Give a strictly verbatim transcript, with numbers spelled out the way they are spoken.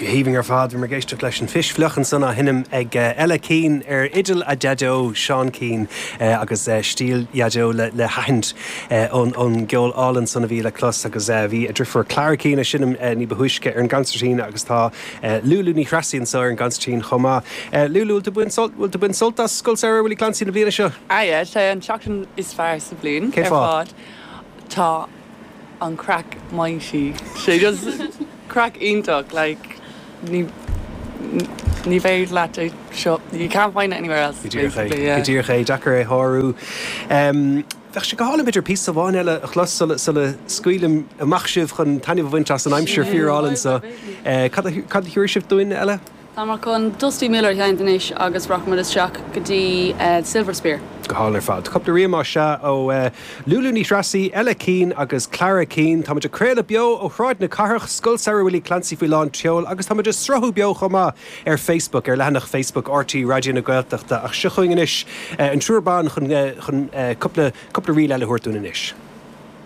Go haoibhinn ar fad. Bhí muid ag éisteacht leis an Phis Fhliuch ansan á sheinm ag Ella Keane ar fhidil a Deaideo Seán Keane agus stíl Dhaideo le haithint ón ón gceol álainn san a bhí le clos agus bhí a driofúr Clara Keane ag seinm ní ba thúisce ar an gconsairtín agus tá Lulu Ní Threasaigh anseo ar an gconsairtín chomh maith. Lulu, bhfuil tú ag baint sult as Scoil Samhraidh Willie Clancy na bliana seo? Ah yeah, sé an tseachtain is fearr sa bhliain Cén ar fáth? fad. Tá an craic mighty. Sé just craic iontach like ní ní féidir leat é seo you can't find it anywhere else. Go díreach é. basically, yeah. Go díreach é, deacair é a shárú. Um, Bheadh sé go hálainn b'fhéidir píosa amháin eile a chlos sula sula scaoilim amach sibh chun taitneamh a bhaint as an aimsir fíorálainn so. Eh, Cad a cad a thabharfaidh sibh dúinn eile? Tá muid chun Dusty Miller a sheinnt anois agus rachaimid isteach go dtí uh, Silver Spear. Go hálainn ar fad. Cúpla ríomá se ó uh, Lulu Ní Threasaigh, Ella Keane agus Clara Keane, Tá ag craoladh beo ó Shráid na Cathrach, Scoil Samhraidh Willie Clancy faoi lán tseoil, agus tá ag sruthú beo chomh maith ar Facebook ar leathanach Facebook RTÉ Raidió na Gaeltachta ach seo chugainn anois uh, an triúr ban chun uh, chun uh, cúpla cúpla ríl eile a thabhairt dúinn anois.